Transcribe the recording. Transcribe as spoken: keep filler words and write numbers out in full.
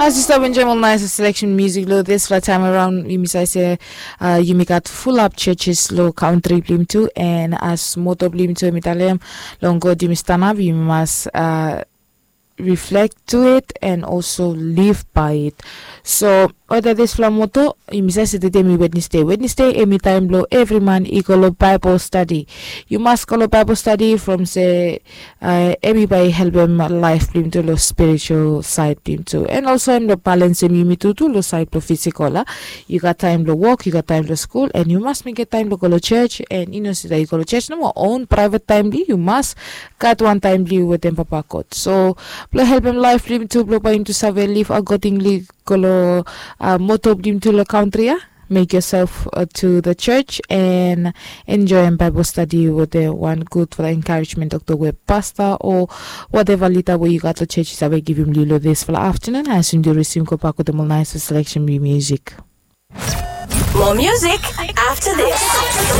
As yu stap enjoim ol nais selection music lo dispela taim araun, yumi save se yumi gat fulap churches lo kantri blong yumi tu, and as moto blong yumi tu em i talem, long God yumi stanap, yumi mas reflect to it and also live by it. So whether dispela moto, yumi save se tede em i Wednesday. Wednesday em i taim blong evri man i go lo Bible study. Yu mas go lo Bible study from se uh, em i bai helpem laif blong yumi tu lo spiritual side blong yumi tu, and also em lo balansem yumi tu tu lo side blong physical a. Yu gat taim blong wok, yu gat taim blong skul, and yu mas mekem taim blong go lo church, and yu no sida yu go lo church nomo, own private taim blong yu, yu mas gat wan taim blong yu wetem Papa God. So blong helpem laif blong yumi tu blong bai yumi tu save live accordingly go lo uh, moto blong yumi tu lo kantri a. Make yourself uh, to the church and enjoy em Bible study with the one good for the encouragement of the web pastor or whatever leader wey yu gat lo church yu save givim li lo dispela afternoon. As yumi risim go bak wetem ol nais selection music. More music after this.